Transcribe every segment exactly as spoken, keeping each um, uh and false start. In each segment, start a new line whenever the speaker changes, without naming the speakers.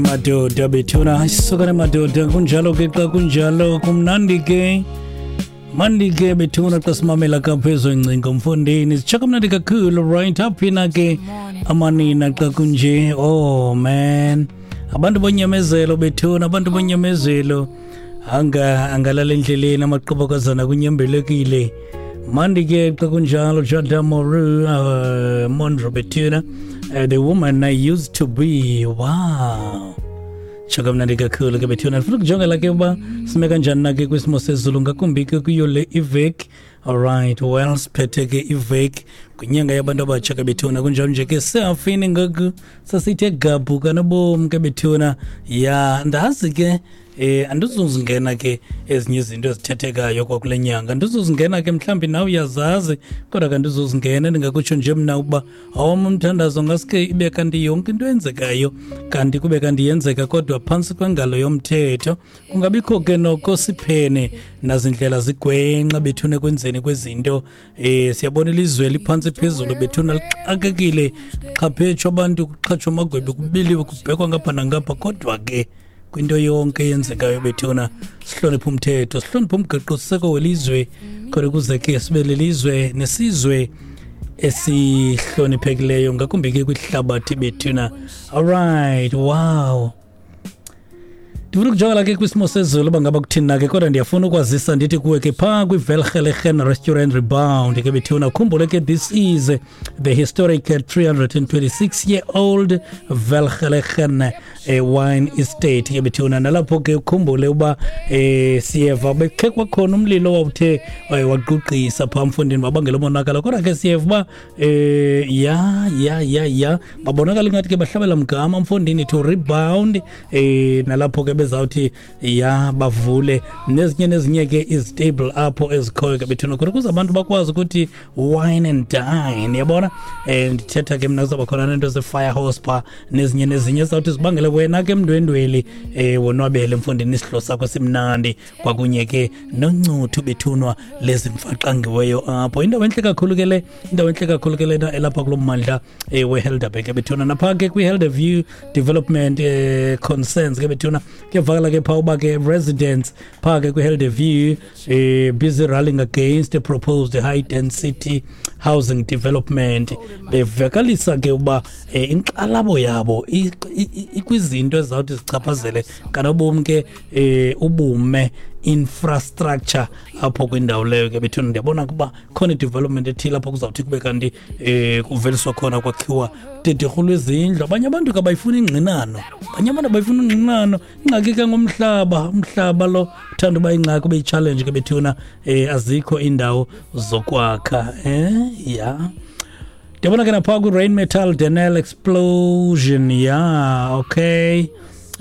Madoda bethuna, isukane madoda, kunjalo ke xa kunjalo, kumnandi ke mandi ke bethuna xa simamela kaphezu ingcingo mfondini, sitsho kamnandi kakhulu. Right, aphina ke amanina xa kunje? Oh man, abantu bonyamezelo bethuna, abantu bonyamezelo anga angalala endleleni, amaqobokazana kunyembelekile. Mandi ke xa kunjalo. Jada Moru, uh, Monroe bethuna, uh, "The Woman I Used to Be." Wow, tsho kamnandi kakhulu ke bethuna. Ndifuna ukujongela ke uba sime kanjani na ke kwisimo sezulu, ngakumbi ke kuyo le iveki. Alright, well, siphethe ke iveki kwinyanga yabantu abatsha ke bethuna. Kunjalo nje ke sehafini ngoku, sasithe gabhu kanobomi ke bethuna. Ya, ndazi ke eh andizuzingena ke ezinye izinto ezithethekayo kwakule nyanga, andizuzingena ke, mhlawumbi nawe uyazazi, kodwa ke andizuzingena. Ndingakutsho nje mna ukuba awam umthandazo ngaske ibe kanti yonke into eyenzekayo kanti kube kanti yenzeka kodwa phantsi kwengalo yomthetho, kungabikho ke noko siphene nazindlela zigwenxa bethuna ekwenzeni kwezinto. eh siyabona ilizwe liphantsi phezulu bethuna, lixakekile, xhaphetshu abantu, kuxhatshwa amagwebi, kubiliwe, kubhekwa ngapha nangapha, kodwa ke kwinto yonke eyenzekayo bethuna sihloniphe umthetho, sihloniphe umgaqosiseko welizwe, khona ukuze ke sibe lelizwe nesizwe esihloniphekileyo, ngakumbi ke kwihlabathi bethuna. Alright, wow, ndifuna ukujongela ke kwisimo sezulu uba ngaba kuthini na ke, kodwa ndiyafuna ukwazisa ndithi kuwe ke phaa kwiVelgelegen Restaurant Rebound ke bethuna, khumbule ke this is the historic three hundred twenty-six year old Welgelegen eh, wine estate ke bethuna. Nalapho ke ukhumbule uba eh, siyeva bekhe kwakhona umlilo owawuthe eh, wagqugqisa phaa mfundini, wabangela umonakalo, kodwa ke siyeva uba eh, ya ya ya ya babonakala ingathi ke bahlabela mgama mfondini to rebound, eh nalapho ke bezawuthi ya bavule nezinye nezinye ke izitable apho ezikhoyo ke bethuna, khona ukuze abantu bakwazi ukuthi wine and dine, yabona. eh ndithetha ke mna kuzawuba khona nento ze-fire horse phaa nezinye nezinye ezawuthi zibangele wena ke mndwendweli eh wonwabele mfondini isidlo sakho simnandi, kwakunye ke noncuthu bethunwa lezimfaxangiweyo apho. Indawo entle kakhulu ke le, indawo entle kakhulu ke lena elapha kulo mmandla eh, weHelderberg ke bethuna. Napha ke kwi-Helderview development eh, concerns ke bethuna, kuyavakala ke phaa uba ke residents phaa ke kwi-Helderview eh, busy rallying against the proposed high density housing development, bevakalisa ke uba eh, inkxalabo yabo i- i- ikwizinto ezizawuthi zichaphazele kanobomi ke eh, ubume infrastructure apho kwindawo leyo ke bethuna. Ndiyabona ukuba khona i-development ethile apho kuzawuthi kube kanti eh kuveliswa khona, kwakhiwa dederhu lwezindlu. Abanye abantu ke abayifuni ingxinano, abanye abantu abayifuni ingxinano. Ingxaki ke ngomhlaba, umhlaba lo uthanda uba ingxaki, ube yi-challenge ke bethuna. eh azikho iindawo zokwakha. eh ya ndiyabona ke naphaa kwi-Rheinmetall Denel explosion. Ya, okay,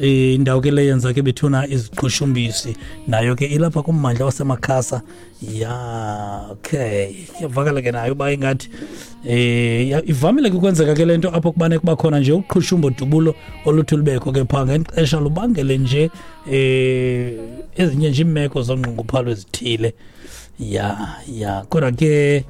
Eh, indawo ke le yenza ke bethuna iziqhushumbisi, nayo ke ilapha kummandla waseMakhasa. Ya, okay, iyavakala ke nayo uba ingathi eh ya- ivamile ke ukwenzeka ke le nto apho kubane kuba khona nje uqhushumbo dubulo oluthi lubekho ke phaa ngexesha, lubangele nje eh ezinye nje iimeko zongqunguphalo ezithile. Ya ya kodwa ke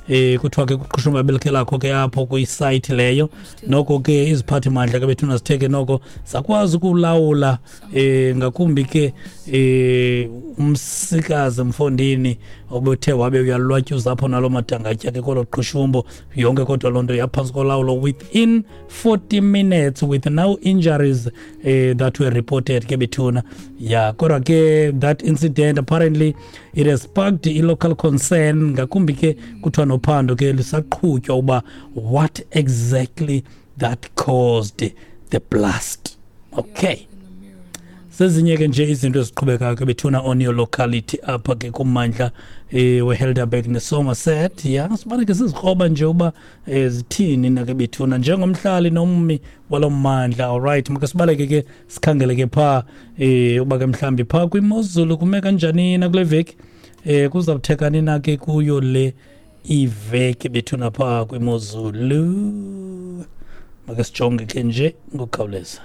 eh kuthiwa ke kuqhushumba belikhe lakho ke apho kwisayithi leyo. Noko ke iziphathimandla ke bethuna zithe ke noko zakwazi ukulawula, eh ngakumbi ke eh umsikazi mfondini obuthe wabe uyalwatyuza apho nalo madangatya ke kolo qhushumbo yonke, kodwa loo nto yaphantsi kolawulo within forty minutes with no injuries eh, that were reported ke bethuna. Ya, kodwa ke that incident apparently it has sparked i-local concern, ngakumbi ke kuthiwa nophando ke lisaqhutywa uba what exactly that caused the blast. Okay, zezinye ke nje izinto eziqhubekayo ke bethuna on your locality apha ke kummandla eh weHelderberg neSomerset. Ya, sibane ke sizikroba nje uba eh, zithini na ke bethuna njengomhlali nommi walo mmandla. Alright, make sibaleke ke sikhangele ke phaa eh uba ke mhlambi phaa kwimozulu kume kanjani na kule veki, eh kuzawuthekani na ke kuyo le iveki bethuna phaa kwimozulu. Make sijonge ke nje ngokukhawuleza.